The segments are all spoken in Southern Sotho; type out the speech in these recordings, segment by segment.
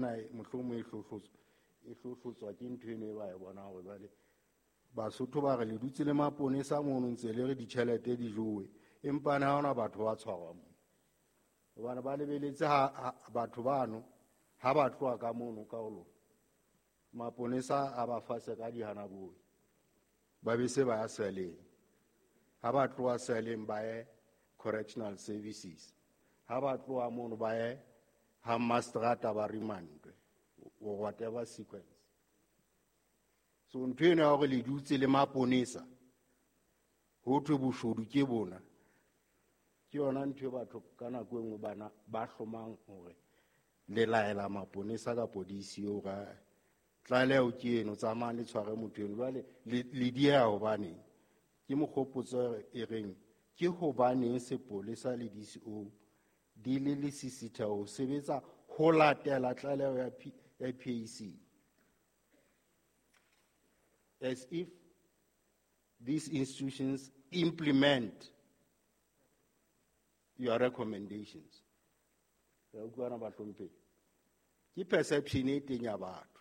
Mohlomong e hlohlotswa ke ntho eno e ba e bonang hore jwale Basotho ba re le dutse le maponesa mono ntse le re ditjhelete di jowe, empa ne ha hona batho ba tshwarwa moo. Hobane ba lebeletse ha batho bano ha ba tloha ka mono ka ho lona, maponesa a ba fase ka dihanaboi, ba be se ba ya seleng. Ha ba tloha seleng ba ye correctional services, ha ba tloha mono ba ye ha mastrata ba remandwe or whatever sequence. So ntho eno ya hore le dutse le maponesa ho thwe boshodu ke bona, ke yona ntho e batho ka nako e nngwe bana ba hlomang hore le laela maponesa kapo DCO ka tlaleho ke eno, tsamayang le tshware motho eno. Jwale le dieha hobaneng? Ke mokgopotso e reng ke hobaneng sepolesa le DCO di le lesisitha ho sebetsa ho latela tlaleho ya PAC, as if these institutions implement your recommendations. Re utlwana bahlomphehi? Ke perception e teng ya batho.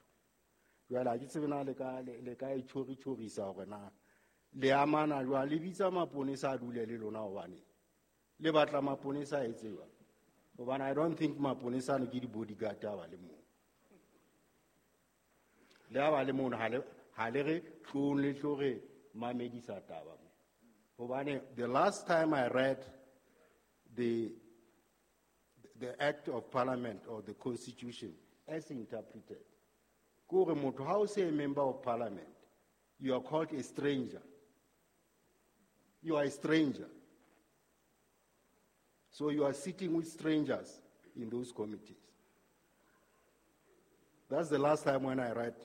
Jwale ha ke tsebe na le ka e tjhori-tjhorisa hore na le amana jwang, le bitsa maponesa a dule le lona hobane le batla maponesa a etse jwang? Hobane I don't think maponesa ano ke di-bodyguard a ba le moo. Le ha ba le mono, ha le re tlong le tlo re mamedisa taba mo. Hobane the last time I read the Act of Parliament or the Constitution as interpreted, ke hore motho ha o se a member of parliament, you are called a stranger. You are a stranger. So you are sitting with strangers in those committees. That's the last time when I read,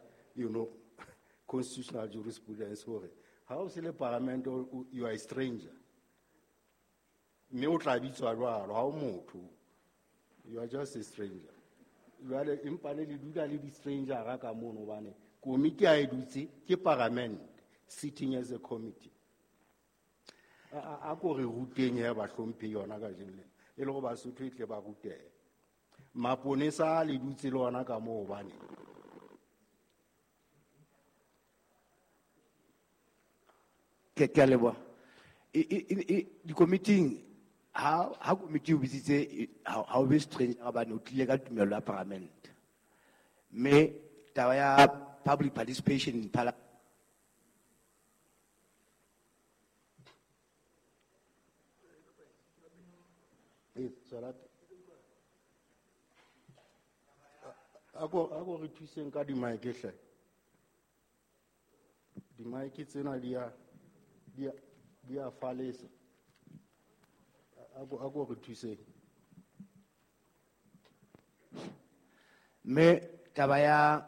constitutional jurisprudence. Hore ha o se le parliament, you are a stranger. Mme o tla bitswa jwalo, ha o motho. You are just a stranger. Jwale empa le le dula le di-stranger ka mono hobane komiti ha e dutse ke parliament sitting as a committee. A ko re ruteng he bahlomphehi yona kajeno lena, e le hore Basotho e tle ba rutehe. Maponesa a le dutse le ona ka moo hobane. Ke a leboha. Dikomiting, ha komiti o bitsitse, ha o be stranger hobane o tlile ka tumello ya parliament. Mme taba ya public participation in parliament. E, tswela pele. A ko re thuseng ka di-mic hle. Di-mic tsena di a falesa. A ko re thuseng. Mme taba ya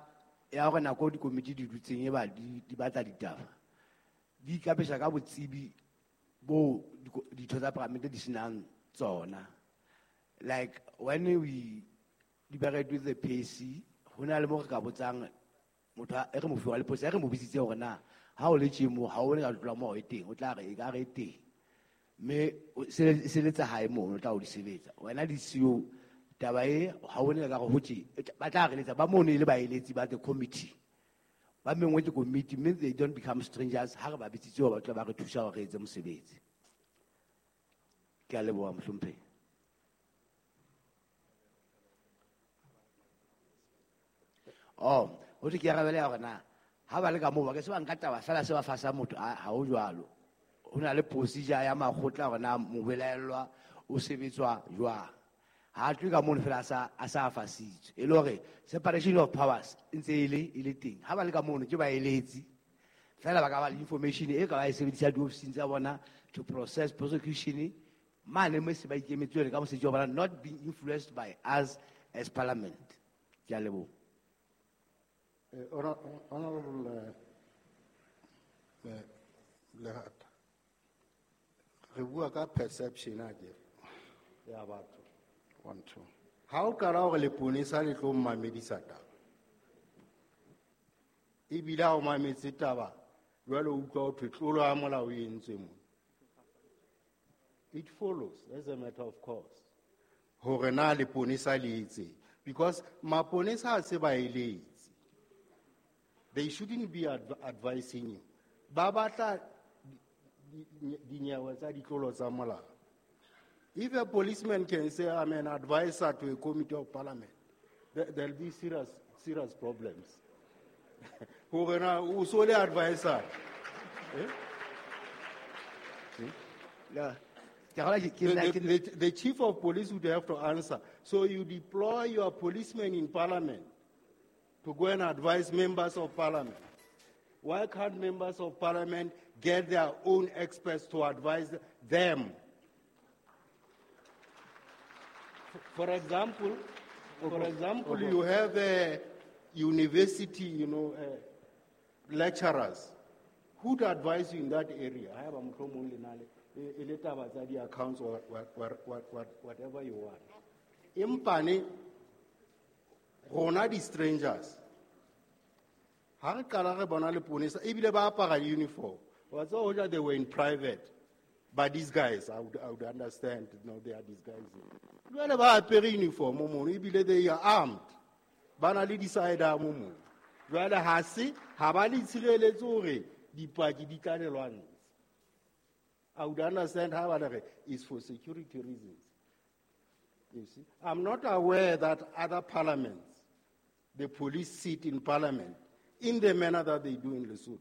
hore nako dikomiti di dutseng e ba di batla ditaba, di ikapesa ka botsebi bo ditho tsa palamente di senang tsona. Like when we deliberate with the PAC, ho na le mo re ka botsang motho a, e re mo fiwa le potso, e re mo bitsitse hore na ha o le tje mo, ha o ne ka tlola mo e teng, o tla re e ka re e teng. Mme o seletsa hae mono, o tla o di sebetsa. Wena di siyo taba e, ha o ne ka re ho tje, ba tla re letsa, ba mono e le baeletsi ba the committee. Ba mengwe ke committee, mme they don't become strangers ha re ba bitsitse hore ba tla ba re thusa hore re etse mosebetsi. Ke a leboha, mohlomphehi. Oh, ho thwe ke arabele ya hore na ha ba le ka moo ba ke se ba nka taba fela se ba fasa motho, ha ho jwalo. Ho na le procedure ya makgotla hore na mobelaellwa o sebetswa jwang. Ha tlwe ka mono fela a sa fasitswe. E le hore separation of powers e ntse e le teng. Ha ba le ka mono ke baeletsi. Fela ba ka ba le information e ka ba e sebedisa diofising tsa bona to process prosecution mane mo se ba ikemetse jwale ka mosebetsi wa bona, not being influenced by us as parliament. Ke a leboha. Honorable Lehata, re bua ka perception a ke ya batho. 1, 2. Ha o qala hore leponesa le tlo mmamedisa taba, ebile ha o mametse taba, jwale o utlwa ho thwe tlolo ya molao e entswe mona. It follows as a matter of course hore na leponesa le etseng. Because maponesa ha se ba eletse. They shouldn't be advising you. Ba batla dinyewe tsa ditlolo tsa molao. If a policeman can say, I'm an advisor to a committee of parliament, there'll be serious, serious problems. Hore na o so le advisor. Eh? La, ke kgolwa ke nna The chief of police would have to answer. So you deploy your policemen in parliament to go and advise members of parliament. Why can't members of parliament get their own experts to advise them? For example, you have a university, lecturers who would advise you in that area. I have a mohlomong le na le, e le taba tsa di-accounts or whatever you want. Empa ne, rona di-strangers, ha re qala re bona leponesa, ebile ba apara uniform. Wa tseba hoja they were in private. But these guys, I would understand, they are disguising. Jwale ba apere uniform mono, ebile they are armed. Ba na le di-sidearm mono. Jwale ha se, ha ba le tshireletse hore dipaki di tla le lwantsha. I would understand how ba re it's for security reasons. You see, I'm not aware that other parliaments, the police sit in parliament in the manner that they do in Lesotho.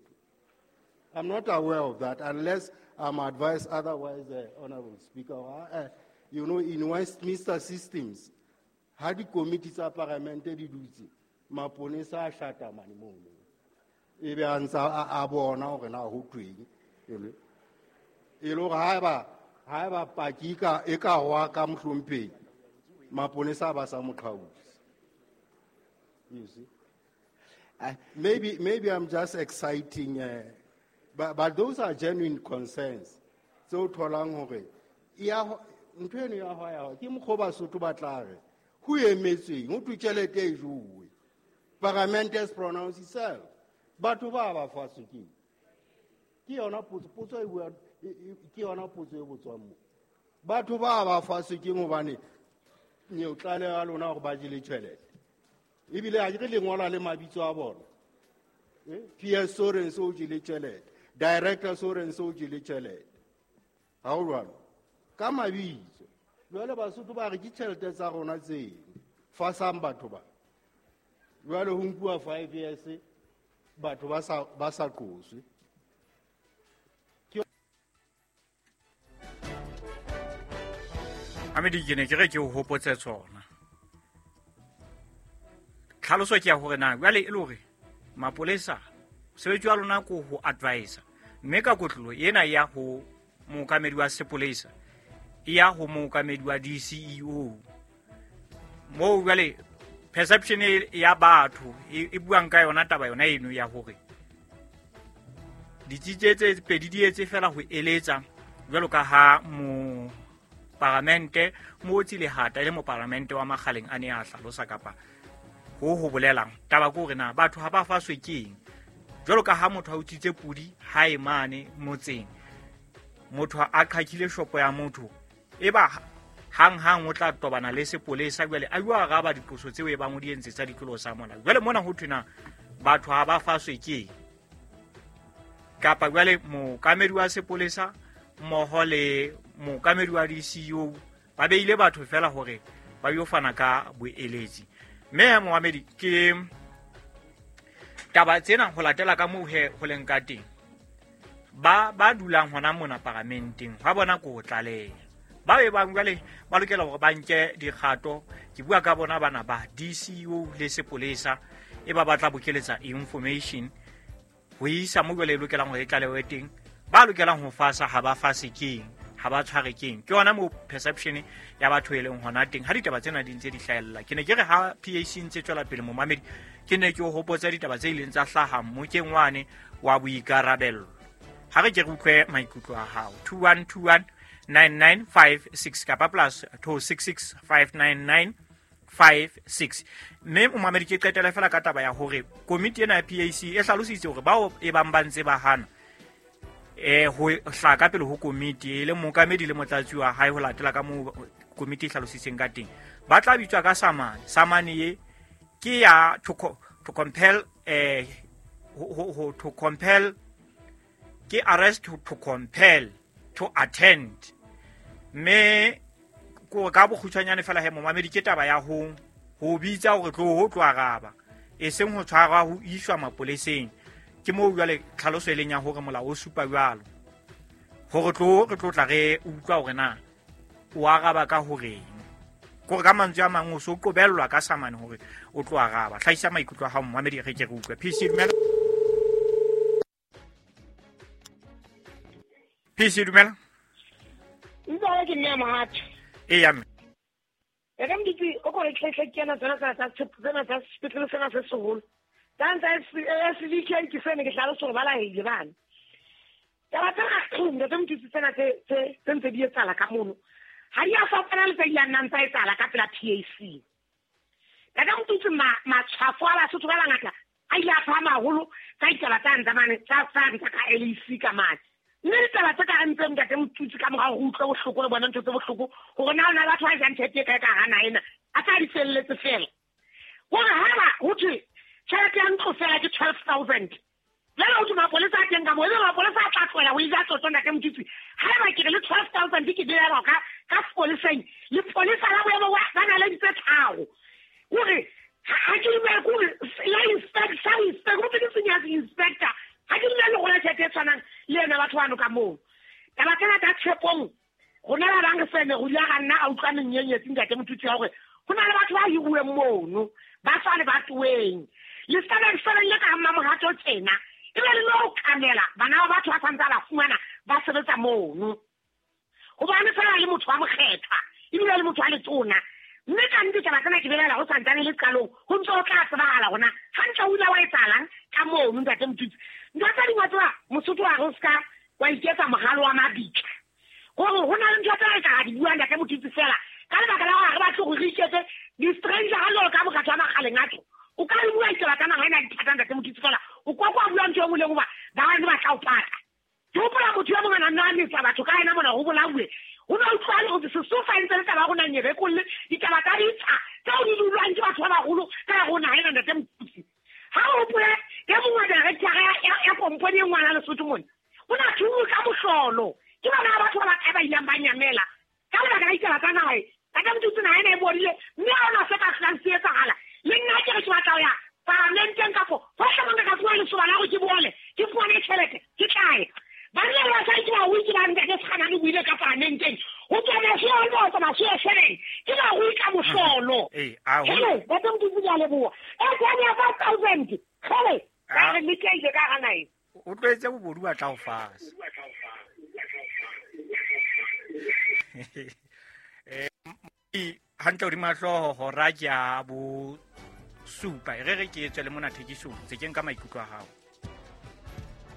I'm not aware of that unless I'm advised otherwise, Honorable Speaker. In Westminster systems, ha di committee tsa parliament di dutse, maponesa a shata mane mono. Ebe a ntsa a bona hore na ho tweng. E le hore haeba paki e ka hwa ka mohlomphehi, maponesa ba sa mo qhautse. You see? Maybe I'm just exciting, but those are genuine concerns. So tholang hore ya ho, ntho eno ya ho ya ho, ke mokgwa Basotho ba tla re, ho emetsweng, ho thwe tjhelete e jowe. Parliament has pronounced itself. Batho ba ba faswe ke eng? Ke yona potso, potso e bua, e, e, ke yona potso e botswang mo. Batho ba ba faswe ke eng hobane neo tlaleho ya lona hore ba jele tjhelete. Ebile ha ke re le ngola le mabitso a bona. PS Sorenso o jele tjhelete, Director Sorenso o jele tjhelete. Ha ho jwalo? Ka mabitso. Jwale Basotho ba re ke tjhelete tsa rona tseno. Fasang batho ba. Jwale ho nkuwa 5 years batho ba sa qoswe. Amedi, ke ne ke re ke o hopotse tsona. Tlhaloso ke ya hore na jwale e le hore mapolesa mosebetsi wa lona ko ho advisa, mme ka kotlolo ena ya ho mookamedi wa sepolesa e ya ho mookamedi wa DCEO. Moo jwale perception e ya batho e buang ka yona taba yona eno ya hore ditsi tse pedi di etse fela ho eletsa jwalo ka ha mo paramente Mootsi Lehata e le moparamente wa Makgaleng a ne a hlalosa kapa ho bolelang taba ke hore na batho ha ba faswe ke eng. Jwalo ka ha motho a utswitse pudi ha e mane motseng, motho a qhakile shopo ya motho, e ba hang-hang o tla tobana le sepolesa jwale a bua araba diqoso tseo e bang o di entse tsa ditlolo sa molao. Jwale mona ho thwe na batho ha ba faswe ke eng, kapa jwale mookamedi wa sepolesa mmoho le mookamedi wa DCEO ba beile batho fela hore ba yo fana ka boeletsi. Mme moamedi ke taba tsena ho latela ka moo he ho leng ka teng, ba dulang hona mona paramenteng ha bona ko tlaleha. Ba be bang jwale ba lokela hore ba nke dikgato. Ke bua ka bona bana ba DCEO le sepolesa e ba batla bokeletsa information ho isa mo jwale e lokelang hore e tlalewe teng. Ba lokelang ho fasa ha ba fase keng, ha ba tshware keng. Ke yona moo perception ya batho e leng hona teng ha ditaba tsena di ntse di hlahella. Ke ne ke re ha PAC ntse tswela pele momamedi, ke ne ke o hopotsa ditaba tse ileng tsa hlaha mmokeng wane wa boikarabello. Ha re ke re utlwe maikutlo a hao. 2121 9956 kapa plus 266 599 56. Mme momamedi ke qetela fela ka taba ya hore komiti ena ya PAC e hlalositse hore bao e bang ba ntse ba hana ho hlaka pele ho komiti e le mookamedi le motlatsi wa hae ho latela ka moo komiti e hlalositseng ka teng, ba tla bitswa ka samane. Samane ye ke ya to compel to compel ke arrest to compel to attend. Mme ko ka bokgutshwanyane fela he momamedi ke taba ya ho bitsa hore tlo ho tlo araba, e seng ho tshwarwa ho iswa mapoleseng. Ke moo jwale tlhaloso e leng ya hore molao o supa jwalo hore tlo re tlo tla re utlwa hore na o araba ka horeng. Kore ka mantswe a mang o so qobellwa ka samane hore o tlo araba. Hlahisa maikutlo a hao momamedi, re ke re utlwe. PC dumela. PC dumela. Ntsala ke nna Mohato. Eya mme. E ka mditsi o kore tlhetlhe ke yana tsona tsa tsena tsa sepetlele sena se seholo. Tsa ntsa SVK ke sene ke hlalosa hore ba laehile bana. Taba tsena ntate Motutsi tsena tse ntse di etsahala ka mono. Ha di a fapana le tse ileng nang tsa etsahala ka pela PAC. Ntate Motutsi matshwafo a Basotho ba bangata a ile a phahama haholo ka ditaba tsa ntsa mane tsa ka LEC ka mane. Mme ditaba tse ka reng tse ntate Motutsi ka morao ho utlwe bohloko le bona ntho tse bohloko hore na hona batho ba jang tjhelete e kae ka hara naha ena a tsa di felletse fela. Hore ha ho thwe tjhelete ya ntlo fela ke 12,000. Jwale ho thwe mapolesa a teng ka moo, ebe mapolesa a tla tlohela ho e ja tsotso ntate Motutsi. Haeba ke re le 12,000 ke beelwa ka sepoleseng, lepolesa la boemo ba na le ditse tharo. Hore ha ke dumele hore la inspector, ho thwe ke senior inspector. Ha ke dumele go la tjhelete e tshwanang le ena batho bano ka moo. Taba tsena tsa Tshepong, rona ba bang re fene re ile ra nna a utlwa menyenyetsi ntate Motutsi ya hore ho na le batho ba hiruweng mono, ba tswa lebatoweng. Le seven le ka ha Mmamohato tjena, ebe le lo kamela bana ba batho ba santse ba fumana ba sebetsa mono. Hobane fela le motho wa mokgethwa, ebile le motho wa letona. Mme ka nnete taba tsena ke belaela ho santsane le qalong, ho ntse ho tla tsebahala hona hantle o ile wa etsahalang ka mono ntate Motutsi. Ntho tse ding wa tseba Mosotho wa re o ska wa iketsa mohalo wa mabitla. Hore ho na le ntho tse re ka di buang ntate Motutsi fela ka lebaka la hore ha re batle hore re iketse di-stranger ha jwalo ka mokgatlo wa makgaleng a tlo. O ka bua ditaba tsa naha ena dithata ntate Motutsi fela o kwa kwa bua ntho e nngwe le nngwe hoba ba bang ba tla o pata. Ke hopola motho ya mongwe a nna a metsa batho ka yena mona ho bolauwe. Ho no utlwane hore Sesofa e ntse le taba ya rona nyebekolle ditaba tsa ditsha tseo di dulwang ke batho ba baholo ka hare ho naha ena ntate Motutsi. Ha o hopole e mongwe director ya kompone e ngwana Lesotho mona o na thuwe ka mohlolo ke bana ba batho ba bakae ba ileng ba nyamela ka lebaka la ditaba tsa naha. Ntate Motutsi naha ena e bodile mme ha hona se ka hlolang se etsahala. Le nna ke re ke batla ho ya paramenteng kapo hohle mo nka ka fuwa lesoba la hore ke bole ke fumane tjhelete ke tla ya. Banna ba basadi ke barui ke ba ntate Sekganane o buile ka paramenteng. Ho tswa masuwe le ho tswa masuwe seven ke barui ka mohlolo. Hele ntate Motutsi ke a leboha. E tswang ya 5,000. Hele ba re lekile ka hara naha. O tlwaetse bobodu ba tla o fasa. Hantle hodima hlooho hora ke ya bo supa. E re re ke tswe le mona thekisong tse ke nka maikutlo a hao.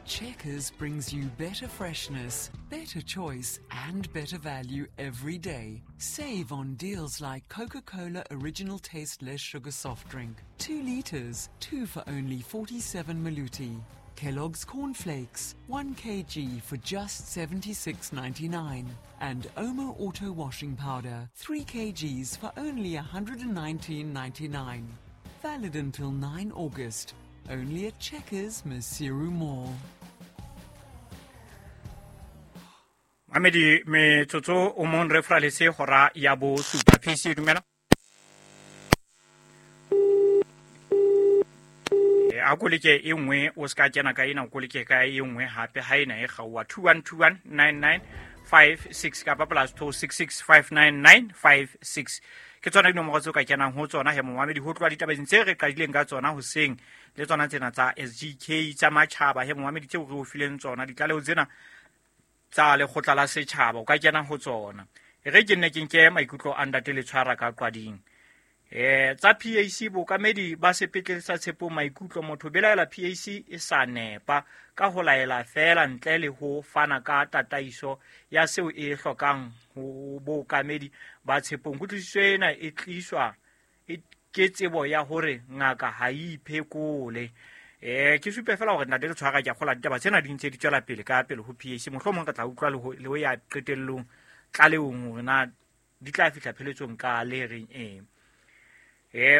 Checkers brings you better freshness, better choice, and better value every day. Save on deals like Coca-Cola Original Taste Less Sugar Soft Drink. 2 liters, 2 for only 47 maluti. Kellogg's Cornflakes, 1 kg for just 76.99. And Omo Auto Washing Powder, 3 kgs for only 119.99. Valid until 9 August. Only at Checkers, Maseru Mall. Mamedi metsotso o mong re fraletse hora ya bo supa. PC dumela. A koleke e nngwe o ska kena ka ena, o koleke ka e nngwe hape ha ena e kgaowa 21219956 kapa plus 26659956. Ke tsona dinomoro tseo ka kenang ho tsona he momamedi ho tloha ditabeng tse re qadileng ka tsona hoseng le tsona tsena tsa SGK tsa matjhaba he momamedi tseo re o fileng tsona ditlaleho tsena tsa lekgotla la setjhaba o ka kena ho tsona. E re ke nne ke nke maikutlo a ntate le tshwara ka qwading. Tsa PAC bokamedi ba sepetlele sa Tshepong maikutlo motho belaela PAC e sa nepa ka ho laela feela ntle le ho fana ka tataiso ya seo e hlokang ho bokamedi ba Tshepong. Kutlwisiso ena e tliswa ke tsebo ya hore ngaka ha e iphekole. Ke supe fela hore ntate le tshwara ke a kgola ditaba tsena di ntse di tswela pele ka pele ho PAC. Mohlomong re tla utlwa le ho ya qetellong tlalehong hore na di tla fihla pheletsong ka le reng eng.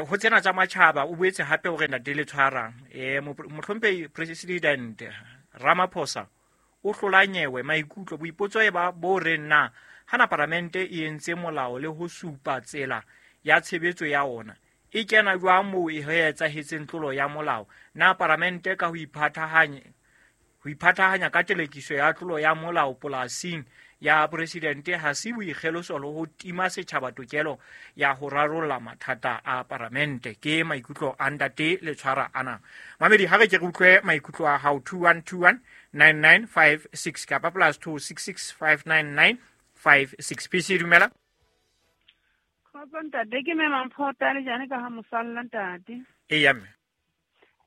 Ho tsena tsa matjhaba o boetse hape hore ntate le tshwara mohlomphehi President Ramaphosa o hlola nyewe maikutlo boipotso e ba bo reng na hana paramente e entse molao le ho supa tsela ya tshebetso ya ona e kena jwang moo e etsahetseng tlolo ya molao, na paramente ka ho iphathahanya ka telekiso ya tlolo ya molao polasing ya presidente ha se boikgeloso le ho tima setjhaba tokelo ya ho rarolla mathata a paramente. Ke maikutlo a ntate le tshwara ana. Mamedi, ha re ke re utlwe maikutlo a hao 2121 9956 kapa +266 599 56. PC dumela. Kgotso ntate, ke mme Mamphota le jane ka ha mosalla ntate. Eya mme.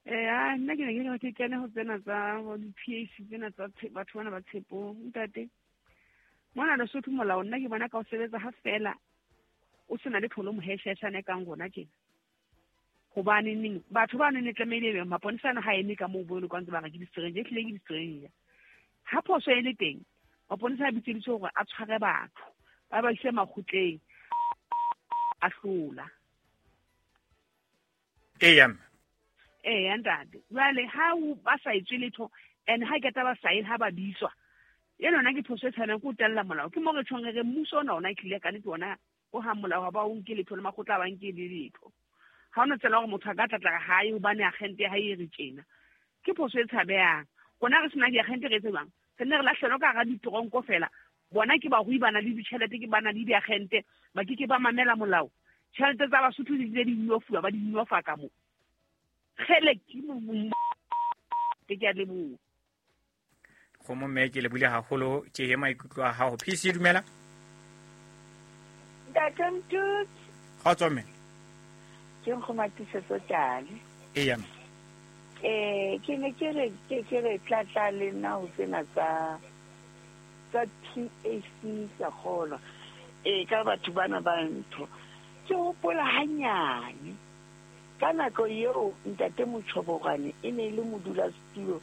Nna ke ne ke kene ho tsena tsa di-PAC tsena tsa batho bana ba Tshepong ntate. Mona Lesotho molao nna ke bona ka o sebetsa ha fela o sena le tlholo mohesheshane kang rona tjena. Hobane neng batho ba neng tlamehile be maponesa ha eme ka moo bo le kwantse ba re ke di-stranger, ehlile ke di-stranger. Ha phoso e le teng, maponesa a bitseditswe hore a tshware batho ba ba ise makgotleng a hlola. Eya mme. Eya ntate. Jwale ha ba sa etswe letho and ha ke taba sae ha ba bitswa. Eno nna ke phoso e tshwanang ke ho tella molao. Ke mo re tjhong re mmuso ona ona ehlile ka nnete ona o ha molao ha ba o nke letho le makgotla ba nke le letho. Ha ona tsela hore motho a ka tlatla hae hobane agente ha e re tjena. Ke phoso e tshabehang. Rona re sena diagente re etse jwang? Re nne re lahlelwa ka hara ditoronko fela. Bona ke barui ba na le ditjhelete, ke ba na le diagente, ba ke ke ba mamela molao. Tjhelete tsa Basotho di tle di nyofuwa, ba di nyofa ka moo. Kgele ke ke a leboha. Kgomo mme ke lebile haholo ke he maikutlo a hao. PC dumela. Ntate Mtutsi. Kgotso mme. Ke nkgomatisetso tjale. Eya mme. Ke ne ke re ke re tlatla le nna ho tsena tsa PAC ka kgolwa. Ka batho bana ba ntho. Ke hopola hanyane. Ka nako eo ntate Motjhobogwane e ne le modulasetulo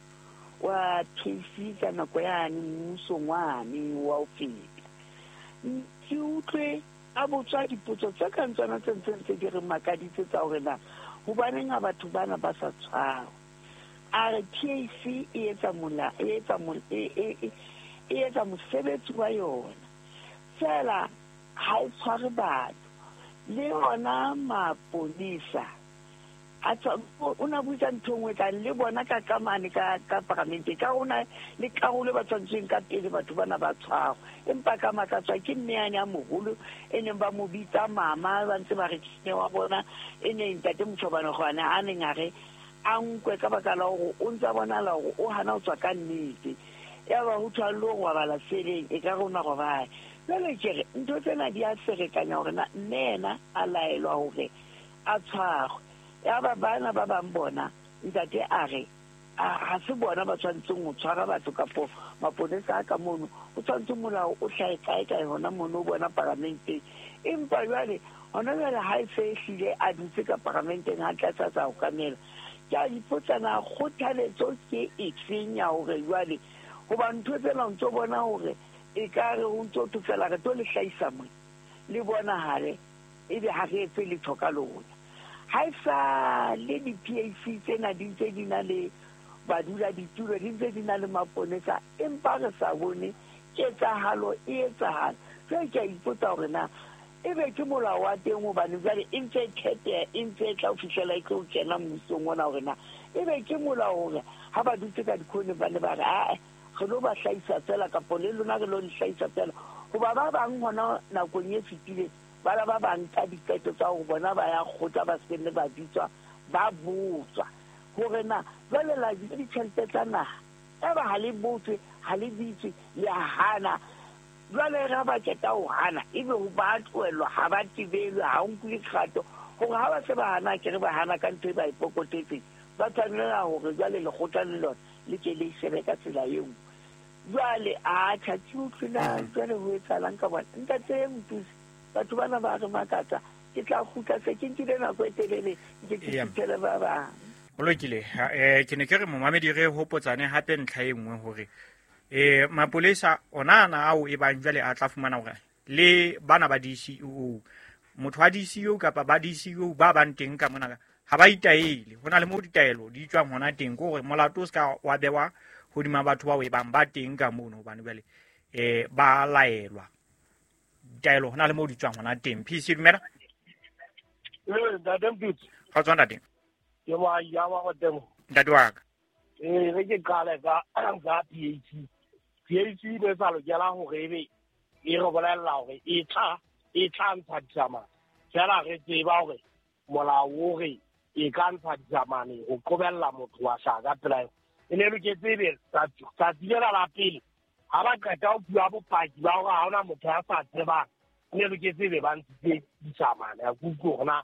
wa PAC ka nako yane mmusong wane wa ho feta. Ke utlwe a botswa dipotso tse kang tsona tse ntseng tse di re makaditse tsa hore na hobaneng ha batho bana ba sa tshwarwa. A re PAC e etsa e etsa mosebetsi wa yona fela ha e tshware batho. Le ona maponesa a o na buisa ntho nngwe ka le bona ka kamane ka paramente ka ona le karolo ba tshwantseng ka pele batho bana ba tshwarwa. Empa ka makatswa ke mme yane a moholo e neng ba mo bitsa mama ba ntse ba re ke wa bona e ne ntate Motjhobane gwane a neng a re a nkwe ka baka la hore o ntsa bonala hore o hana ho tswa ka nnete. Ya ba ho thwa le ho robala seleng e ka rona robala. Jwale ke re ntho tsena di a ferekanya hore na mme yena a laelwa hore a tshwarwe. Ya ba bana ba bang bona ntate a re ha se bona ba tshwantseng ho tshwara batho kapo maponesa a ka mono, o tshwantse molao o hlahe kae kae hona mono o bona paramenteng. Empa jwale hona jwale ha e se ehlile a dutse ka paramenteng ha tlatsa tsa ho kamela. Ke a ipotsa na kgothaletso ke efeng ya hore jwale hoba ntho tsena o ntso bona hore e ka re ho ntso thwe fela re tlo le hlahisa mona le bonahale ebe ha re etse letho ka lona. Ha e sa le di-PAC tsena di ntse di na le badula ditulo, di ntse di na le maponesa, empa re sa bone ketsahalo e etsahala. Jwale ke a ipotsa hore na ebe ke molao wa teng hobane jwale e ntse e kgetheha, e ntse e tla ho fihlela e tlo kena mmusong ona hore na ebe ke molao hore ha ba dutse ka dikhoneng ba ne ba re ae re lo ba hlahisa fela kapo le lona re lo le hlahisa fela. Hoba ba bang hona nakong e fetileng ba la ba bang ka diqeto tsa hore bona ba ya kgotla ba se nne ba bitswa ba botswa hore na jwale la ja ditjhelete tsa naha eba ha le botswe ha le bitswe le a hana. Jwale re ha ba qeta ho hana ebe ho ba tlohellwa ha ba tebelwe ha ho nkuwe kgato hore ha ba se ba hana ke re ba hana ka ntho e ba e pokotetseng ba tshwanela hore jwale lekgotla le lona le ke le shebe ka tsela e nngwe. Jwale a tjha ke utlwe na jwale ho etsahalang ka bona. Ntate Mothusi, batho bana ba re makatsa ke tla kgutla se ke nkile nako e telele ke ke fihlele ba bang. Ho lokile. Ke ne ke re momamedi re hopotsane hape ntlha e nngwe hore mapolesa ona ana ao e bang jwale a tla fumana hore Le bana ba DCEO, motho wa DCEO kapa ba DCEO ba bang teng ka mona ha ba itaele. Ho na le moo ditaelo di tswang hona teng, ke hore molato o se ka wa bewa hodima batho bao e bang ba teng ka mono, hobane jwale ba laelwa ditaelo, ho na le moo di tswang hona teng. PC dumela. Ntate Mpitsi. Kgotso ntate. Ke wa ya wa go temo. Ntate wa ka. Re ke qale ka PAC. PAC e sa lokela hore ebe e re bolella hore e tla ntsha disamane. Fela re tseba hore molao o re e ka ntsha disamane ho qobella motho wa hlaka pela. E ne loketse ebe tsatsi lena la pele ha ba qeta ho bua bopaki ba hore ha hona motho ya sa tsebang, e ne loketse ebe ba ntshitse disamane. Ha ke utlwe hore na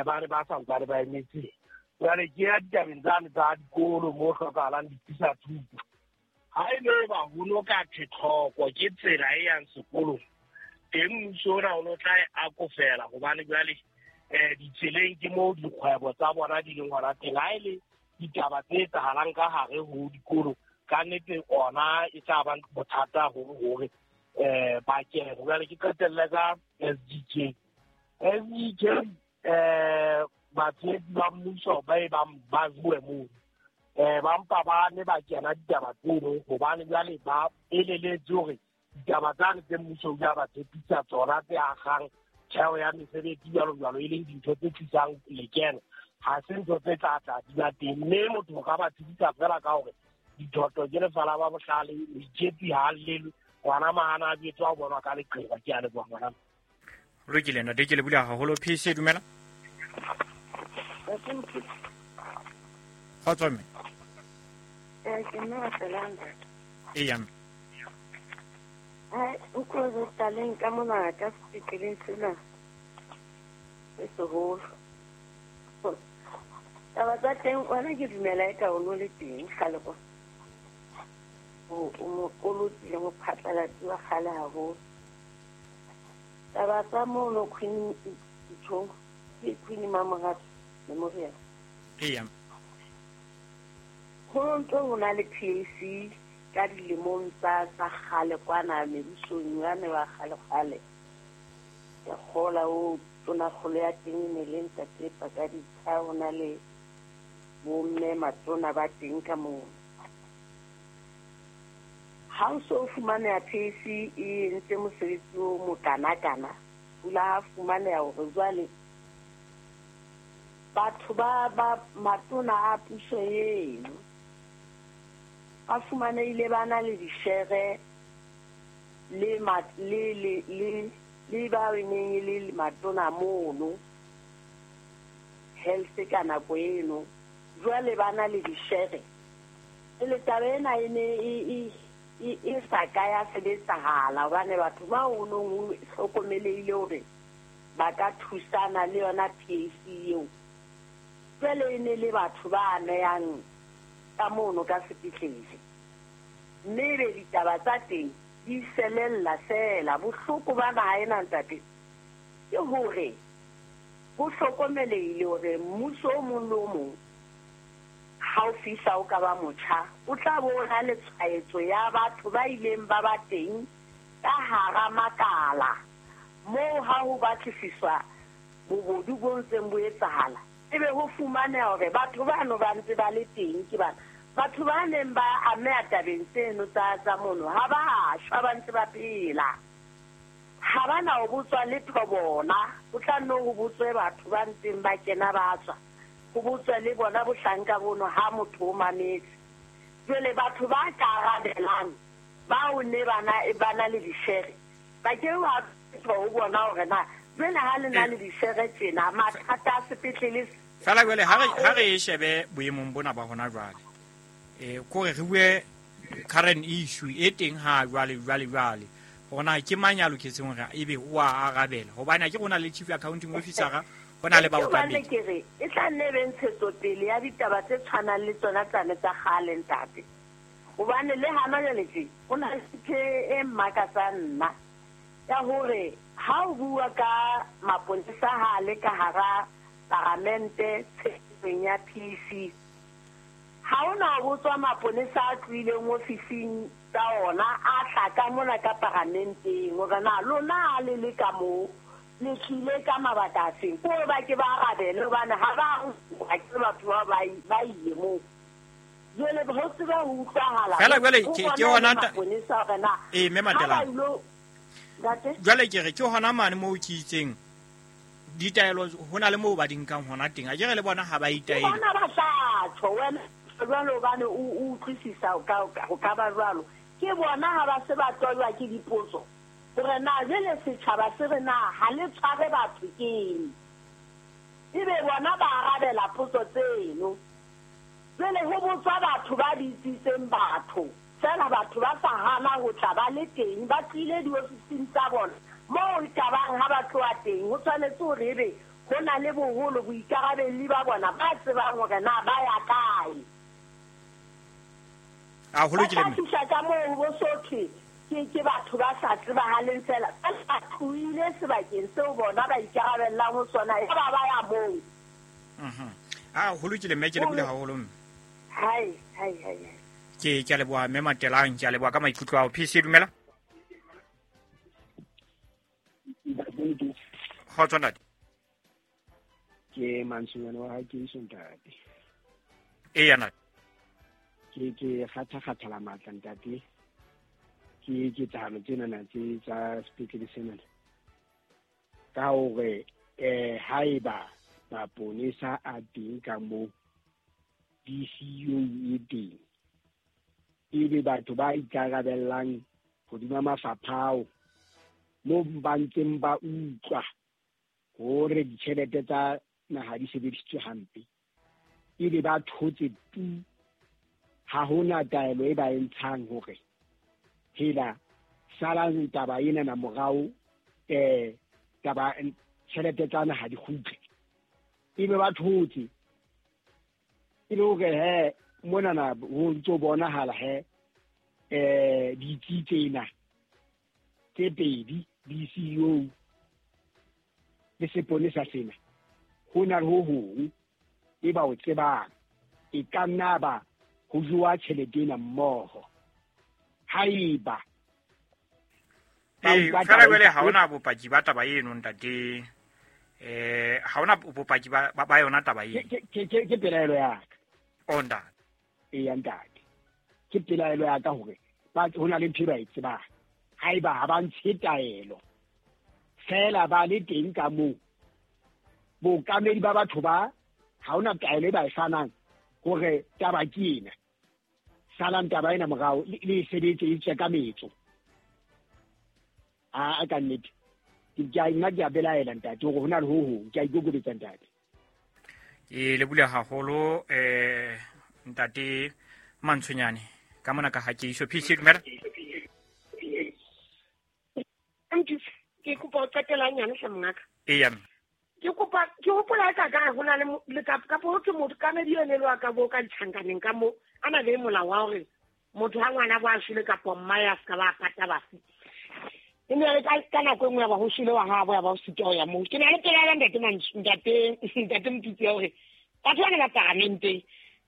ba ne ba sa ntsane ba emetse. Jwale ke ya ditabeng tsane tsa dikolo mo hlokahalang dithusa thuto. Ha e le ba ho no ka tlhoko ke tsela e yang sekolong, teng mmuso ona o no tla e akofela, hobane jwale ditseleng ke moo dikgwebo tsa bona di leng hona teng. Ha e le ditaba tse etsahalang ka hare ho dikolo, ka nnete ona e tla ba bothata haholo hore ba kene. Jwale ke qetelle ka SDK. SDK batshehetsi ba mmuso ba e bang ba bue mono, ba mpa ba ne ba kena ditaba tseno, hobane jwale ba eleletse hore ditaba tsane tse mmuso o ile ba tshepisa tsona tse akgang theo ya mesebetsi jwalo jwalo, e leng dintho tse tlisang lekeno, ha se ntho tse tla tla di ba teng. Mme motho o ka ba tshedisa fela ka hore dithoto ke lefa la ba bohlale, moitshepi ha llelwe, ngwana mahana a betswa ho bonwa ka leqeba. Ke a leboha ngwana. Lokile ntate, ke lebohile haholo. PC dumela. Kgotso mme. Ke mme wa Selanda. Eya mme. O tlo taleng ka mona ka sepetleleng sena se seholo. Taba tsa teng wena ke dumela eka o no le teng kgale kwa. O mokoloti le mophatlalatsi wa kgale haholo. Taba tsa mono Queen Ntho, ke Queen Mamorato Memorial. Eya. Ho ntso ho na le PAC ka dilemong tsa kgale kwana mebusong yane wa kgale kgale. Ke kgola o tonakgolo ya teng e ne le ntate Pakaditsha, ho na le bomme matona ba teng ka moo. Ha o so fumaneha PAC e entse mosebetsi o mokanakana, pula ha fumaneha hore jwale batho ba matona a puso eno ba fumanehile ba na le dishere le ba neng e le matona mono health ka nako eno, jwale ba na le dishere. Le taba ena e ne e sa ka ya sebetsahala, hobane batho ba o nong ho hlokomelehile hore ba ka thusana le yona PAC eo. Jwale e ne le batho ba amehang ka mono ka sepetlele, mme ebe ditaba tsa teng di selella fela. Bohloko ba naha ena ntate ke hore ho hlokomelehile hore mmuso o mong le o mong ha o fihla o ka ba motjha, o tla bona le tshwaetso ya batho ba ileng ba ba teng ka hara makala moo ha ho batlisiswa bobodu bo ntseng bo etsahala, ebe ho fumaneha hore batho bano ba ntse ba le teng. Ke bana batho ba neng ba ameha tabeng tseno tsa mono ha ba shwa, ba ntse ba phela, ha ba na ho botswa letho bona. Ho tla nno ho botswe batho ba ntseng ba kena ba tswa, ho botswe le bona bohlanka bono ha motho o mametse. Jwale batho ba ka arabelang bao ne ba na le dishere, ba ke wa ho bona hore na jwale ha le na le dishere tjena mathata a sepetlele. Fela jwale ha re e shebe boemong bona ba hona jwale, kore re bue current issue e teng ha jwale hore na ke mang ya loketseng hore ebe o a arabela, hobane ha ke rona le chief accounting officer, ho na le baokamedi. Ke re e tla nne be ntshetsopele ya ditaba tse tshwanang le tsona tsane tsa kgale ntate, hobane le hana jwale tje ho na le ntho e mmakatsang nna ya hore ha o bua ka maponesa ha le ka hara paramente tshebetsong ya PC, Ha hona botswa maponesa a tlohileng ofising tsa ona a tla ka mona ka paramenteng hore na lona le le ka moo le tlile ka mabaka afe, ko ba ke ba arabele hobane ha ba ke batho ba ile moo. Jwale ho tseba ho utlwahala fela jwale ke hona maponesa hore na mme Matelang jwale ke re ke hona mane moo ke itseng ditaelo hona le moo ba di nkang hona teng, a ke re le bona ha ba itaele bona ba tla tjho wena jwalo hobane o utlwisisa ho ka ba jwalo. Ke bona ha ba se ba tojwa ke dipotso hore na jwale setjhaba se re na ha le tshware batho keng, ebe bona ba arabela potso tseno. Jwale ho botswa batho ba bitsitseng batho fela, batho ba sa hana ho tla ba le teng, ba tlile diofising tsa bona moo e ka bang ha ba tloha teng. Ho tshwanetse hore ebe ho na le boholo boikarabelli ba bona ba tsebang hore na ba ya kae. A ho lokile mme ba ka moo bo sothwe ke batho ba sa tsebahaleng fela, ba tlohile sebakeng seo bona ba ikarabellang ho sona, ya ba ba ya moo. A ho lokile mme, ke lebohile haholo mme. Hai hai hai, ke a leboha mme Matelang, ke a leboha ka maikutlo ao. PC dumela. Kgotso ntate. Ke Mantsonyane wa hae ke iso ntate. Eya ntate. Ke kgatha-kgathala matla ntate. Ke ketsahalo tsenana tse tsa sepetlele senana. Ka hore haeba maponesa a teng ka moo, DCU e teng, ebe batho ba ikarabellang hodima mafapha ao moo ba ntseng ba utlwa hore ditjhelete tsa naha di sebedisitswe hampe, ebe ba thotse tu, ha hona taelo e ba e ntshang hore hela salang taba ena na morao, taba tjhelete tsa naha di kgutle, ebe ba thotse e le hore he monana ho ntso bonahala he ditsi tsena tse pedi DCU le seponesa sena ho na le ho hong e ba o tsebang, e ka nna ba ho jowa tjhelete ena mmoho haeba fela jwale ha hona bopaki ba taba eno ntate. Ha hona bopaki ba yona taba eno. Ke pelaelo ya ka. O ntate. Eya ntate, ke pelaelo ya ka hore ba ho na le ntho e ba e tsebang. Haeba ha ba ntshe taelo fela ba le teng ka moo, bookamedi ba batho ba ha hona taelo e ba e fanang hore taba ke ena, salang taba ena morao le sebetse e tswe ka metso. A ka nnete ke a nna ke a belaela ntate hore ho na le ho hong, ke a ikokobetsa ntate. Ke lebohile haholo ntate Mantshonyane ka mona ka ha ke iso. PC dumela. Ke kopa ho qetela nyane hle mongaka. Eya. Ke kopa ke hopola ka ka ho na le ka po ke motho ka medi ene le wa ka bo ka ditjhankaneng ka mo a na le molao wa hore motho ha ngwana bo a shwele kapa mma ya ska ba pata bafu. E ne ka nako e nngwe ya ba ho shwele wa habo ya ba ho sitwa ho ya moo. Ke na le pelaelo ntate ntate Motutsi ya hore batho bana ba paramenteng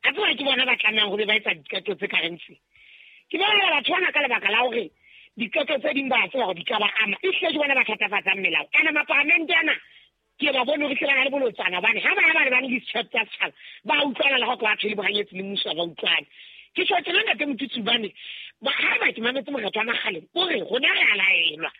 a tseba ke bona ba tlamehang ho be ba etsa diqeto tse kareng tse. Ke belaela batho bana ka lebaka la hore diqeto tse ding ba tseba hore di ka ba ama, ehlile ke bona ba thatafatsang melao. Kana maparamente ana ke ba bone hore hle ba na le bolotsana, hobane ha ba ya ba lebane le ditjhelete tsa setjhaba ba utlwana le ha ba thole bohanyetsi le mmuso ba utlwane. Ke tjho tjena ntate Motutsi hobane haeba ke mametse Mokgatlo wa Makgaleng o re rona re a laelwa,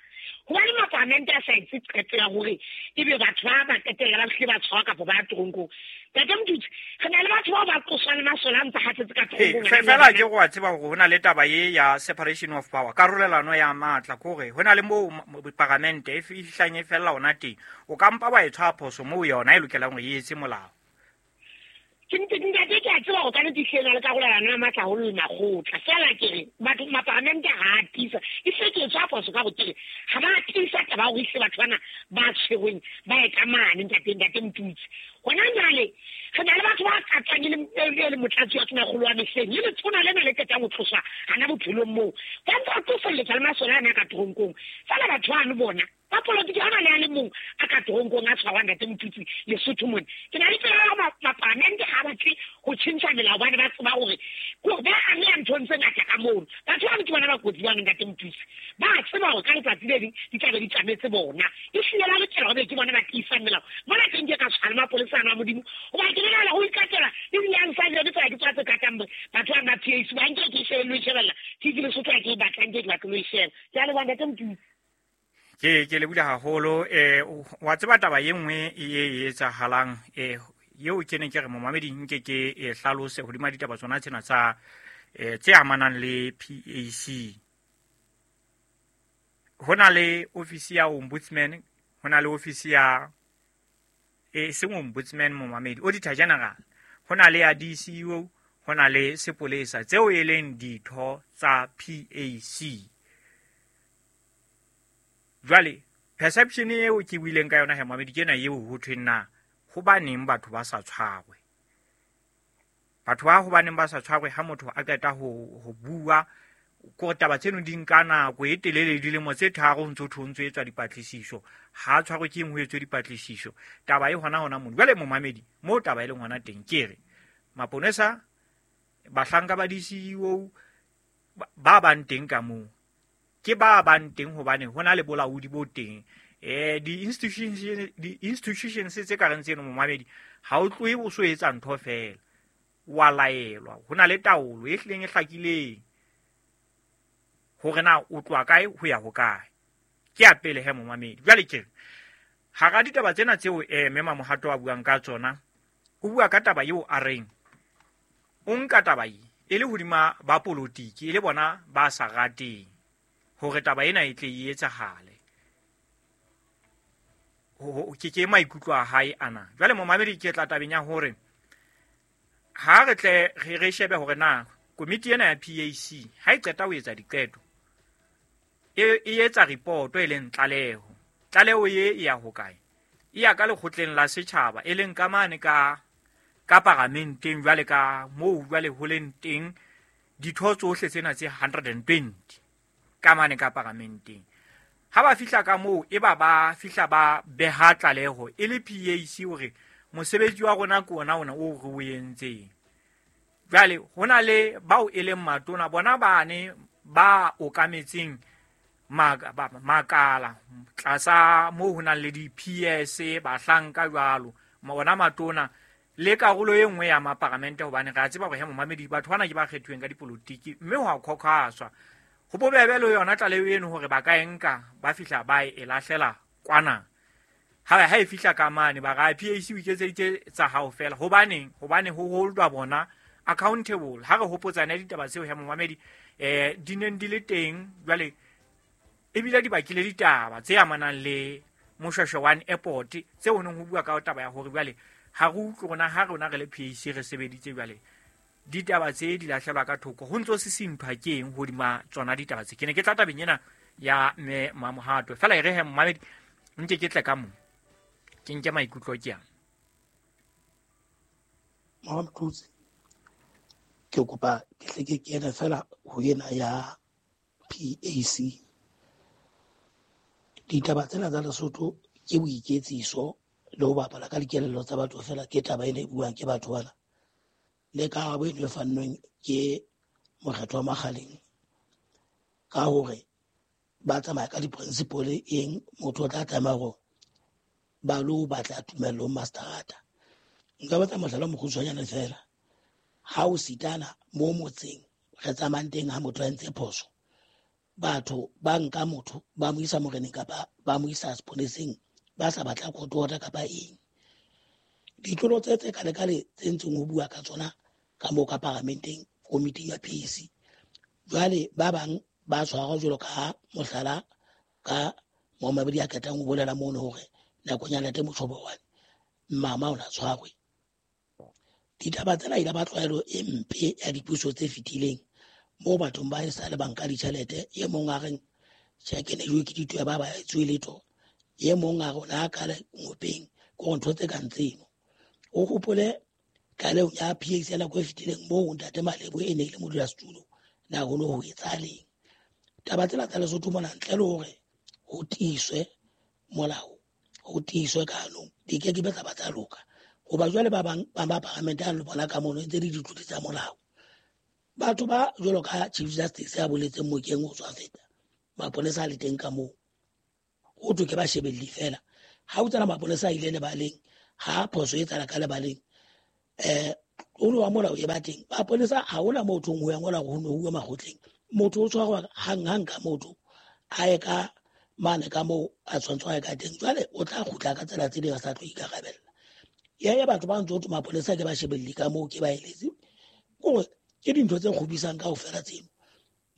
hobane maparamente a sa etse qeto ya hore ebe batho ba qetella ba hlile ba tshwarwa kapa ba toronkong. Ntate Motutsi, re na le batho bao ba qoswang le masole a ntse hatsetse ka toronkong. Fela ke go a tseba hore ho na le taba e ya separation of power, karolelano ya matla, ke hore ho na le moo paramente e fihlang e fella hona teng, o ka mpa wa e tshwara phoso moo yona e lokelang hore e etse molao. Ke ntate ke a tseba hore ka nnete ehlile e na le karolelano ya matla haholo le makgotla, fela ke re batho maparamente ha a tiisa, ehlile ke e tshwara phoso ka hore ke re ha ba tiisa taba ya hore ehlile batho bana ba tshwerweng ba ye ka mane ntate Motutsi. Hona jwale re na le batho ba katswang e le motlatsi wa tonakgolo wa mehleng, e letshona lena le qetang ho tloswa hana bophelong moo, ba ntse ba qosolletsa le masole ana ka toronkong. Fela batho bano bona Ba polotiki ha na le a le mong a ka toronkong a tshwarwang, ntate Motutsi, Lesotho mona. Ke na le tsela ya hore mapalamente ha batle ho tjhentjha melao, hobane ba tseba hore kore ba ameha nthong tse ngata ka mono. Batho bano ke bona ba kotsi bano, ntate Motutsi. Ba tseba hore ka letsatsi le leng di tla be di tjametse bona. Ehlile ba lokela hore ke bona ba tiisang melao. Mona teng ke ka tshwana le mapolesa ana a Modimo, hoba ke nahana ho ikatela le di-answer le tsona ke tsona tse katang batho ba ba PAC. Ba nke ke shebe le ho e shebella TV Lesotho, ha ke e batla, nke ke batle le ho e sheba. Ke a leboha, ntate Motutsi. Ke lebile haholo. Wa tseba taba ye nngwe e etsahalang, eo ke ne ke re momamedi nke ke e hlalose hodima ditaba tsona tsena tsa tse amanang le PAC. Ho na le ofisi ya ombudsman, ho na le ofisi ya seng ombudsman, momamedi, auditor general, ho na le ya DCEO, ho na le sepolesa, tseo e leng ditho tsa PAC. Jwale perception eo ke buileng ka yona he, momamedi, ke ena eo ho thweng na hobaneng batho ba sa tshwarwe. Batho ba hobaneng ba sa tshwarwe ha motho a qeta ho bua, kore taba tseno di nka nako e telele, dilemo tse 3 ho ntso thwe ho ntso etswa dipatlisiso. Ha tshwarwe ke eng ho etswe dipatlisiso? Taba e hona hona mono. Jwale momamedi, moo taba e leng hona teng, ke re maponesa, bahlanka ba DCEO ba bang teng ka moo, ke ba bang teng hobane ho na le bolaodi bo teng. Di-institutions tse ka reng tseno, momamedi, ha o tlohe o so etsa ntho fela, wa laelwa. Ho na le taolo e hlileng e hlakileng hore na o tloha kae ho ya hokae. Ke ya pele he, momamedi. Jwale ke re hara ditaba tsena tseo mme Mamohato a buang ka tsona, o bua ka taba eo a reng o nka taba e e le hodima ba polotiki, e le bona ba sa rateng hore taba ena e tle e etsahale. Ke maikutlo a hae ana. Jwale momamedi, ke tla tabeng ya hore ha re tle re shebe hore na komiti ena ya PAC ha e qeta ho etsa diqeto, e etsa report e leng tlaleho. Tlaleho e e ya hokae? E ya ka lekgotleng la setjhaba, e leng ka mane ka paramenteng, jwale ka moo jwale ho leng teng ditho tsohle tsena tse 120 ka mane ka paramenteng. Ha ba fihla ka moo, e ba ba fihla ba beha tlaleho e le PAC hore mosebetsi wa rona ke ona ona o re o entseng. Jwale ho na le bao e leng matona, bona bane ba okametseng makala tlasa moo ho nang le di-PS, bahlanka jwalo, ona matona le karolo e nngwe ya maparamente, hobane re a tseba hore he momamedi, batho bana ke ba kgethuweng ka dipolotiki, mme ho a khokhaswa. Ho bobebe le yona tlaleho eno hore ba ka e nka, ba fihla ba e lahlela kwana. Ha e fihla ka mane, ba re PAC o iketseditse tsa hao fela. Hobaneng? Hobane ho holdwa bona accountable. Ha re hopotsane ditaba tseo he momamedi, di neng di le teng jwale, ebile di bakile ditaba tse amanang le Moshweshwe One Airport, tseo ho neng ho bua ka taba ya hore jwale ha re utlwe rona, ha rona re le PAC re sebeditse, jwale ditaba tse di lahlelwa ka thoko, ho ntso sisinthwa ke eng hodima tsona ditaba tse. Ke ne ke tla tabeng ena ya mme Mamohato fela, e re he momamedi, nke ke tle ka mo ke nke maikutlo ke yang. Mamthutsi, ke kopa ke hle ke kene fela ho ena ya PAC. Ditaba tsena tsa Lesotho ke boiketsiso le ho bapala ka dikelello tsa batho fela, ke taba ena e buang ke batho bana. Le karabo eno e fannweng ke mokgetho wa Makgaleng ka hore ba tsamaya ka di-principle eng, motho o tla tlameha hore ba lo batla tumello ho masterata. Nka batla mohlala o mokgutshwanyane fela. Ha o sitana mo motseng re tsamayang teng, ha motho a entse phoso, batho ba nka motho ba mo isa moreneng kapa ba mo isa seponeseng, ba sa batla court order kapa eng. Ditlolo tse kale-kale tse ntseng ho bua ka tsona ka moo ka paramenteng, komiting ya PAC. Jwale ba bang ba tshwarwa jwalo ka mohlala ka momamedi a qetang ho bolela mono hore nakong ya Ntate Motjhobowane mama o na tshwarwe. Ditaba tsena ile ba tlwaelo e mpe ya dipuso tse fetileng, moo bathong ba e sa le banka ditjhelete, e mong a reng tjhe ke ne jwe ke ditoe ba ba etswe letho, e mong a re o ne a kale ngopeng, ke hore ntho tse kang tseno. O hopole tlalehong ya PAC ya nako e fetileng moo Ntate Malebo e ne e le modulasetulo, na ho no ho etsahaleng. Taba tsena tsa Lesotho mona, ntle le hore ho tiiswe molao ho tiiswe ka hanong, di ke ke be tsa ba tsa loka. Hoba jwale ba bang ba ba paramente a le bona ka mono ntse di ditlodi tsa molao. Batho ba jwalo ka Chief Justice ya boletseng mokeng o tswa feta, maponesa a le teng ka moo, ho thwe ke bashebelli fela. Ha o tsena maponesa a ile lebaleng, ha phoso e tsala ka lebaleng, o wa molao e ba teng. Maponesa ha hona moo thong ho ya ngola hore ho no huwa makgotleng. Motho o tshwarwa hang-hang ka motho, a ye ka mane ka moo a tshwantsho a ye ka teng. Jwale o tla kgutla ka tsela tse ding a sa tlo ikarabella. Ya ya batho ba ntse ho thwe maponesa ke bashebelli ka moo, ke ba eletse. Kore ke dintho tse kgopisang kaofela tseno.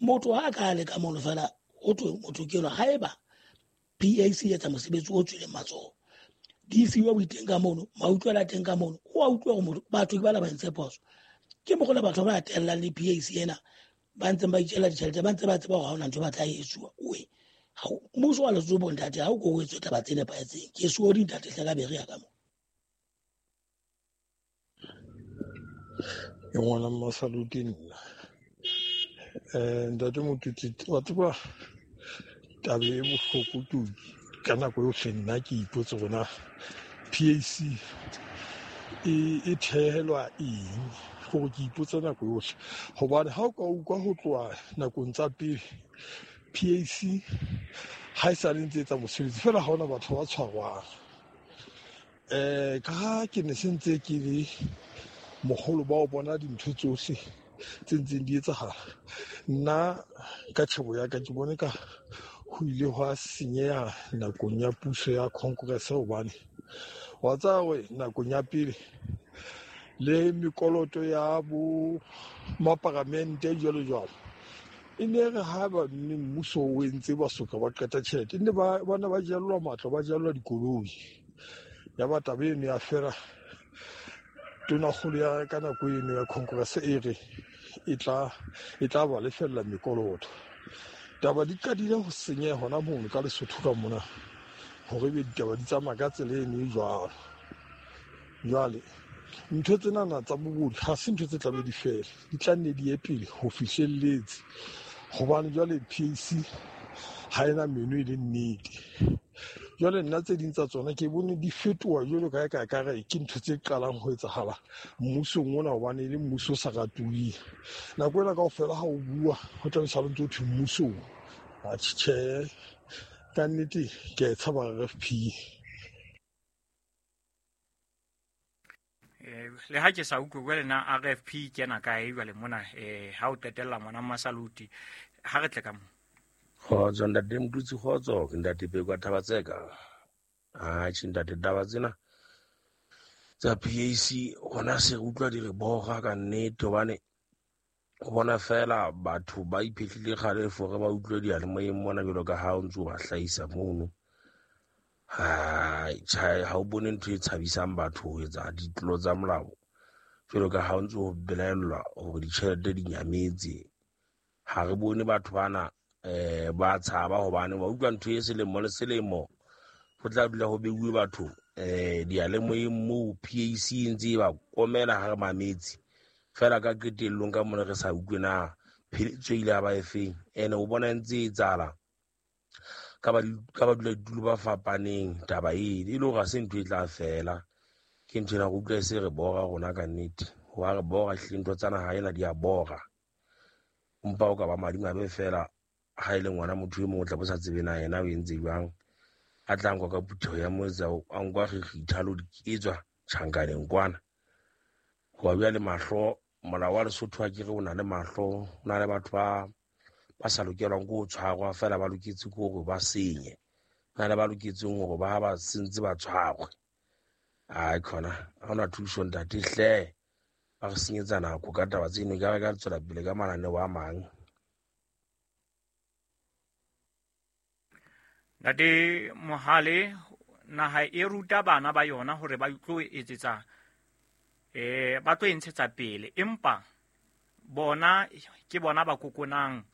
Motho ha a ka le ka mono fela, ho thwe motho ke enwa. Haeba PAC e etsa mosebetsi o tswileng matsoho, di fiwa boiteng ka mono, mautlwela teng ka mono, o a utlwa hore motho, batho ke bana ba entse phoso. Ke mokgwa le batho ba tellang le PAC ena, ba ntseng ba itjella ditjhelete, ba ntse ba tseba hore ha hona ntho ba tla e etsuwa. Oe, ha o, mmuso wa Lesotho bo ntate, ha o ko o etswe taba tse nepahetseng. Ke sorry ntate hle ka bere ya ka mo. Ke ngwana Mmasaluti nna. Ntate Motutsi, wa tseba taba e bohloko ke ka nako yohle nna ke ipotse hore na PAC e thehelwa eng, gore ke ipotsa nako yohle. Hobane ha o ka utlwa ho tloha nakong tsa pele, PAC ha e sa le ntse etsa mosebetsi fela, ha hona batho ba tshwarwang. Ka ha ke ne se ntse ke le moholo ba o bona dintho tsohle tse ntseng di etsahala, nna ka tjhebo ya ka ke bone ka ho ile hwa senyeha nakong ya puso ya Congress. Hobane wa tseba hore nakong ya pele le mekoloto ya bo maparamente jwalo jwalo, e ne re ha ba mme mmuso o entse ba soka ba qeta tjhelete, e ne ba ne ba jellwa matlo, ba jellwa dikoloi. Ya ba taba eno ya fela. Tonakgolo ya ka nako eno ya Congress e re e tla ba lefella mekoloto. Taba di qadile ho senyeha hona mono ka Lesotho ka mona, hore ebe ditaba di tsamaya ka tsela eno e jwalo. Jwale ntho tsenana tsa bobodu ha se ntho tse tlabe di fele, di tla nne di ye pele ho fihlelletse. Hobane jwale PAC ha ena meno e le nnete. Jwale nna tse ding tsa tsona ke bone di fetoha jwalo ka eka ekare ke ntho tse qalang ho etsahala mmusong ona, hobane e le mmuso o sa ratuweng. Nako ena kaofela ha o bua ho tla be sa ntse ho thwe mmusong. Atjhe, tjhe, ka nnete ke a e tshaba RFP. Le ha ke sa utlwe jwale na RFP kena kae jwale mona, ha o qetella ngwana Mmasaluti, ha re tle ka moo. Kgotso ntate Motutsi, kgotso ke ntate Peko a Thabatseka. Atjhe ntate, taba tsena tsa PAC hona se re utlwa di re bora ka nnete, hobane o bona fela batho ba iphehlile kgalefo re ba utlwe diyalemoyeng mona jwalo ka ha o ntso ba hlahisa mono. Hai, tjhe, ha o bone ntho e tshabisang batho ho etsa ditlolo tsa molao jwalo ka ha o ntso belaellwa hore ditjhelete di nyametse. Ha re bone batho bana ba tshaba, hobane wa utlwa ntho e selemo le selemo ho tla dula ho beuwe batho diyalemoyeng moo PAC e ntse e ba komela ha re mametse fela ka qetellong ka mona re sa utlwe na pheletso e ile ya ba efeng. Ene o bona ntse e etsahala ka ba dula ditulo ba fapaneng taba e le hore ha se ntho e tla fela. Ke ntho ena re utlwa e se re bora rona ka nnete. Wa re bora hlile, ntho tsa naha ena di a bora. Empa o ka ba madimabe fela ha e le ngwana motho e mong o tla bo sa tsebe na yena o entse jwang, a tla nkwa ka phutheho ya motse, a nkwa kgikgitha le ho di etswa tjhankaneng kwana. Hoba jwale mahlo, molao wa Lesotho ha ke re o na le mahlo, o na le batho ba sa lokelwang ke ho tshwarwa fela ba loketse ke hore ba senye. Ho na le ba loketseng hore ba ba sentse ba tshwarwe. Ai khona, ha hona thuso ntate hle. Ba re senyetsa nako ka taba tseno, ka re ka tswela pele ka mananeo a mang. Ntate Mohale, naha e ruta bana ba yona hore ba tlo etsetsa, ba tlo e ntshetsa pele, empa bona ke bona ba kokonang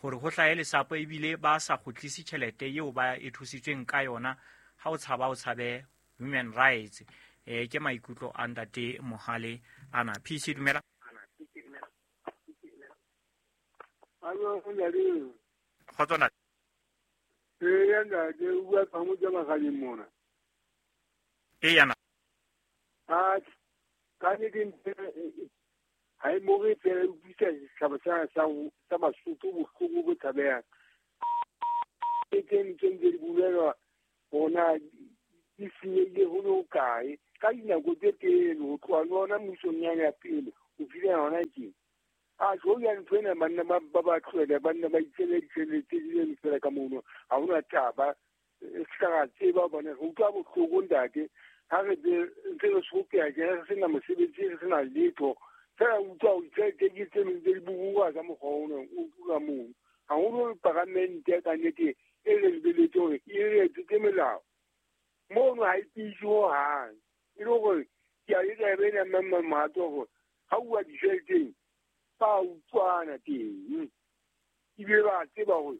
hore ho hlahe lesapo ebile ba sa kgutlise tjhelete eo ba e thusitsweng ka yona. Ha o tshaba, o tshabe human rights. Ke maikutlo a ntate Mohale ana. PC dumela. Hallo, ntate. Kgotso ntate. Eya ntate, o bua Phamotse Makgaleng mona. Eya na. A ka nnete ntho ha e mo re fela e utlwisa setjhaba sa Basotho bohloko bo tshabehang. Ke tse ntse di bolelwa hona di senyehile ho le hokae ka dinako tse telele ho tloha le hona mmusong yane ya pele ho fihlela hona tjena. A jo ya ntho ena banna ba tlohele banna ba itshele ditjhelete di le fela ka mono ha hona taba se ka ra tseba hobane re utlwa bohloko ntate ha re ntse re sokeha tjena re sena mosebetsi re sena letho fela utlwa ho ditjhelete ke tse ntse di bubuwa ka mokgwa ona o ka mono haholo paramente ka nnete e re lebeletse hore e re etsetse melao mono ha e tiise hohang e le hore ke a etsa e be ena mang mohato hore ha uwa ditjheleteng ba utlwana teng ebile ba tseba hore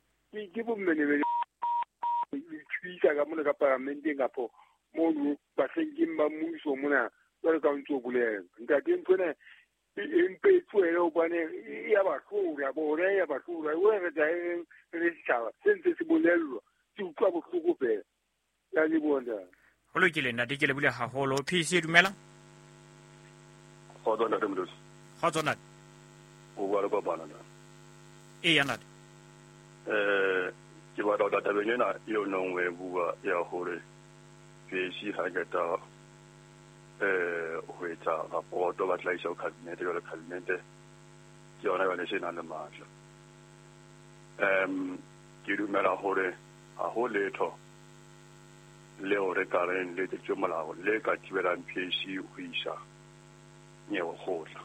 ke bommenemene thuisa ka mona ka paramenteng kapo mono bahlankeng ba mmuso mona jwalo ka o ntso bolela ntate ntho ena e mpe e tlohele hobane e ya ba hlola bona e ya ba hlola o re tla e re setjhaba se ntse se bolellwa se utlwa bohloko fela. Ke a leboha ntate. Ho lokile ntate, ke lebohile haholo. PC dumela. Kgotso ntate Molefi. Kgotso ntate. O bua le Kopano ntate. Eya ntate. Ke batla ho tla tabeng ena eo nong o e bua ya hore PAC ha qeta ho etsa rapoto ba tla isa ho cabinet jwale cabinet ke yona jwale se nang le matla. Ke dumela hore ha ho letho leo re ka reng le etseditswe molao le ka thibelang PAC ho isa nyewe kgotla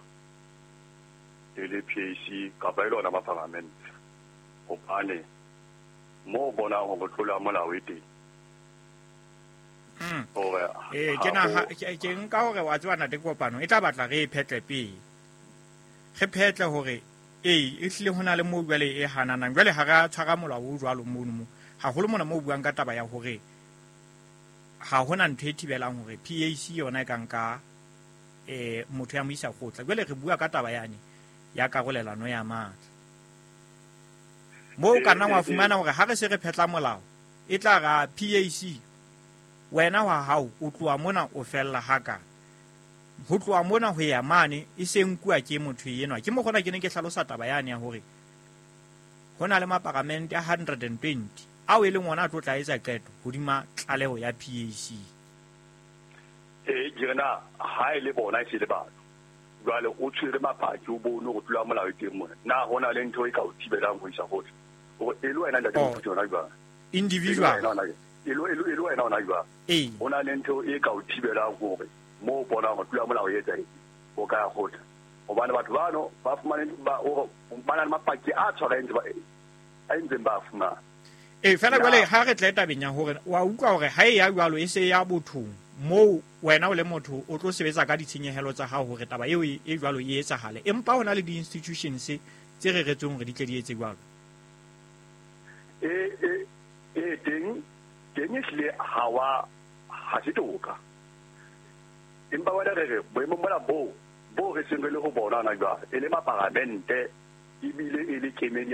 e le PAC kapa e le ona mapalamente hobane mo bonang hore tlolo ya molao e teng. Ee, ke naha ke nka hore wa tseba ntate Kopano e tla batla re e phetle pele. Re phetle hore ee e hlile ho na le moo jwale e hananang. Jwale ha re a tshwara molao o jwalo mono mo. Haholo mona moo buang ka taba ya hore ha hona ntho e thibelang hore PAC yona e ka nka motho ya mo isa kgotla. Jwale re bua ka taba yane ya karolelano ya matla. Moo ka nna wa fumana hore ha re se re phetla molao e tla ra PAC wena wa hao o tloha mona o fella haka. Ho tloha mona ho ya mane e se nkuwa ke motho enwa. Ke mo gona ke ne ke hlalosa taba yane ya hore ho na le maparamente a 120 ao e leng ona a tlo tla etsa qeto hodima tlaleho ya PAC. Ee, ke re na ha e le bona e se le batho. Jwale o tshwere mapaki o bone hore tlolo ya molao e teng mona. Na ho na le ntho e ka o thibelang ho isa kgotla? Hore e le wena ntate Moputso yona jwang? Individual. E le wena ona jwang? Ee. Ho na le ntho e ka o thibelang hore mo o bonang hore tlolo ya molao e etsahetse o ka ya kgotla. Hobane batho bano ba fumane ba na le mapaki a tshwarahetseng a entseng ba fumana. Ee, fela jwale ha re tle tabeng ya hore wa utlwa hore ha e ya jwalo e se ya bothong moo wena o le motho o tlo sebetsa ka ditshenyehelo tsa hao hore taba eo e jwalo e etsahale. Empa ho na le di-institutions tse reretsweng hore di tle di etse jwalo. E teng ehlile ha wa ha se toka. Empa wena re re boemong bona bo re seng re le ho bona hona jwale e le maparamente ebile e le kemedi